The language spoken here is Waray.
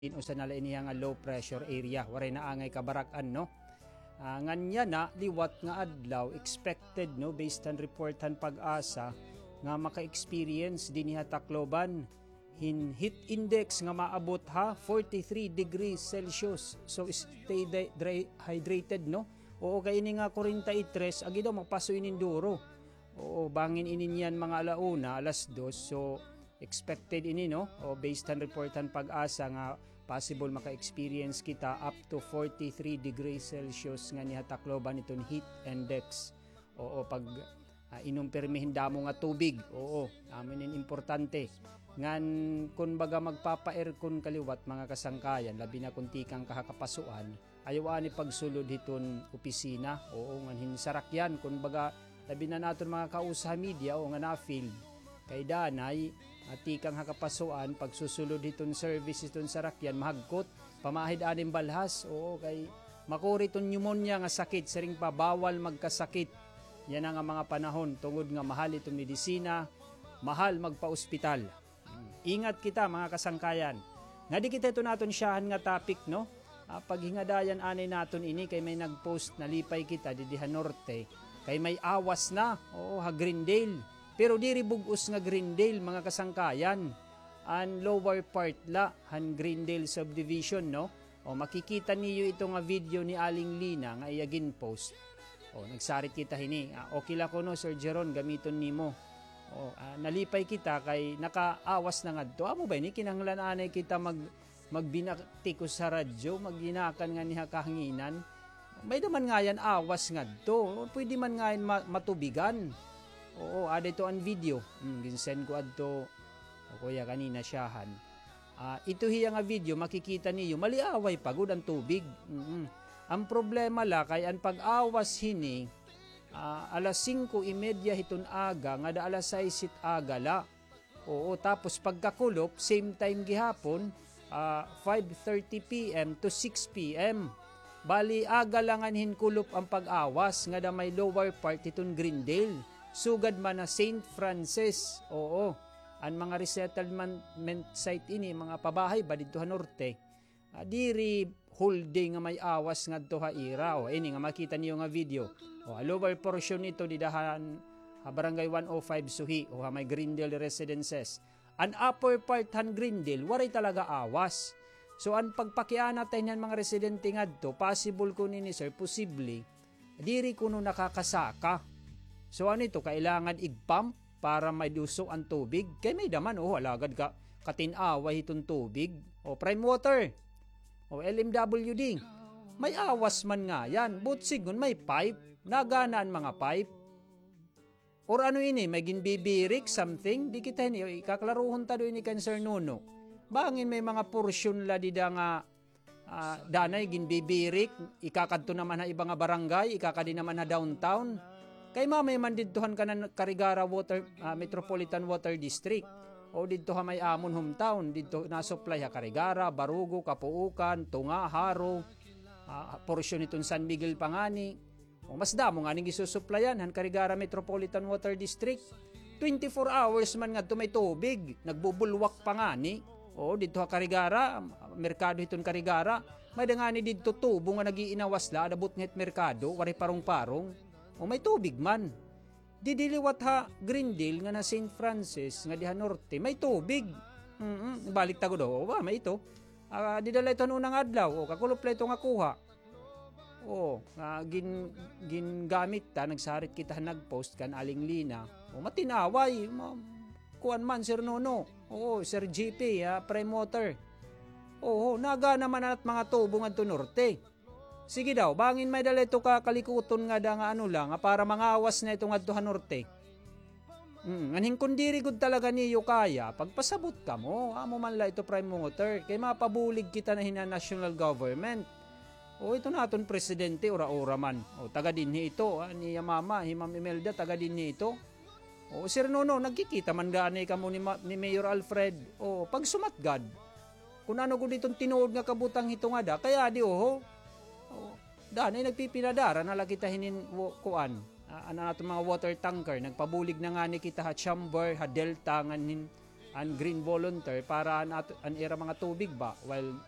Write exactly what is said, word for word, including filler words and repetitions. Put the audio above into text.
Usa na la ini nga low pressure area, waray na angay kabarak-an, no? Ah, ngan yana, liwat nga adlaw, expected, no, based han report han PAGASA, nga maka-experience dinhi ha Tacloban hin heat index nga maabot ha forty-three degrees Celsius. So, stay di-, dry-, hydrated, no? Oo, kay ini nga kwarenta y tres, agi daw, mapaso ini hin duro. Oo, bangin ini niyan mga ala una, alas dos. So, expected ini, no? O, based han report han PAGASA nga possible maka-experience kita up to forty-three degrees Celsius nganhi ha Tacloban iton heat index. Oo, pag, ah, inom pirmi hin damo nga tubig. Oo, amo ini importante. Ngan, kun baga magpapa-aircon ka liwat, mga kasangkayan, labi na kun tikang ka ha kapasuan, ayaw anay pagsulod hiton opisina, oo, ngan hin sarakyan, kun baga, labi na naton mga kausa ha media, oo, nga na-field. Kay danay, ah, tikang ha kapasuan, pagsusulod hiton service hiton sarakyan, mahagkot, pamaahid anay hin balhas, oo, kay makuri iton pneumonia nga sakit, siring pa, bawal magkasakit yana nga mga panahon, tungod nga mahal iton medisina, mahal magpa-ospital. Ingat kita, mga kasangkayan. Ngadi kita hiton aton syahan nga topic, no? Ah, paghingadayan anay naton ini kay may nag-post, nalipay kita didi ha norte. Kay may awas na, oo, ha Greendale. Pero diri bug-os nga Greendale, mga kasangkayan. An lower part la han Greendale subdivision, no? O, makikita niyo ito nga video ni Aling Lina nga iya gin-post. O, nagsarit kita hini. Ah, okay la kuno, Sir Jeron, gamiton nimo. O, ah, nalipay kita kay nakaawas na ngadto. Amo ba ini, kinahanglan anay kita mag-, magbinaktikos ha radyo, magginakan nganhi ha kahanginan? May-ada man ngayan awas ngadto. Pwede man ngayan ma-, matubigan. Oo, ada ito an video. Hmm, gin-send ko adto. O kuya, kanina syahan. Ah, ito hiya nga video, makikita niyo, maliaway pa gud an tubig. Mm-mm. An problema la kay an pag-awas hini, ah, alas singko y media hiton aga, ngada alas sais hit aga la. Oo, tapos pagkakulop, same time gihapon, ah, five thirty P M to six P M. Bali, aga la ngan hin kulop an pag-awas, ngada may lower part hiton Greendale. Sugad man ha Saint Francis, oo. An mga resettlement site ini, mga pabahay ba didto ha norte. Ah, diri whole day nga may awas ngadto ha ira. O, ini nga makita niyo nga video. O, ha lower portion nito, dida han, ha Barangay one oh five Suhi, o ha may Greendale Residences. An upper part han Greendale, waray talaga awas. So, an pagpakiana ta hini han mga residente ngadto, possible kuno ini, sir, posible, diri kuno nakakasaka. So, ano ito, kailangan ig-pump para maiduso an tubig? Kay may-ada man, o, alagad ka, katin-away hiton tubig. O, Prime Water. O, L M W D. May awas man ngayan. Buot sidngon, may pipe. Nagana an mga pipe. Or ano ini, may ginbibirik, something? Di kita hini, ikaklarohon ta daw ini kan Sir Nuno. Bangin may mga porsyon la dida nga, ah, danay ginbibirik, ikakadto naman ha iba nga barangay, ikakadi naman ha downtown. Kay mamay man didto han kanan Carigara Water, ah, Metropolitan Water District. O didto ha may amon hometown, didto na-supply ha Carigara, Barugo, Capuucan, Tunga, Jaro, ah, porsyon hiton San Miguel pa ngani. O, mas damo ngani gisusuplayan han Carigara Metropolitan Water District. Twenty-four hours man ngadto may tubig, nagbubulwak pa ngani. O, didto ha Carigara, merkado hiton Carigara. May-ada ngani didto tubo nga nag-iinawas la, ada butngit merkado, waray parong-parong. O, may tubig man. Didi liwat ha Greendale nga na Saint Francis, nga di ha norte, may tubig. Mm, balik ta gud, o, ba, may ito. Ah, dida la ito han unang adlaw, o, kakulop la ito nga kuha. O, nga gin-, gingamit ta, nagsarit kita, nag-post kan Aling Lina. O, matin-away, ma-, kuan man, Sir Nono. Oo, Sir G P, ah, Prime Water. Oo, nagana man an mga tubo ngadto norte. Sige daw, bangin may-ada la ito ka kalikuton ngada nga ano la, nga para mangawas na ito ngadto ha norte. Mm, ngan hin kun diri gud talaga niyo kaya, pagpasabot kamo, amo man la ito Prime Water, kay mapabulig kita na hini han national government. O, ito naton presidente, ura-ura man. O, taga dinhi ito, ah, niya mama, hi Ma'am Imelda, taga dinhi ito. O, Sir Nono, nagkikita man gani kamo ni Ma-, ni Mayor Alfred. O, pagsumat gad. Kun ano gud iton tinuod nga kabutang hito ngada, kay adi, oho. O, danay nagpipinadara na la kita hinin wo-, kuan. Ah, an aton mga water tanker, nagpabulig na ngani kita ha chamber, ha Delta, ngan hin, an Green Volunteer para an, at-, an ira mga tubig ba, while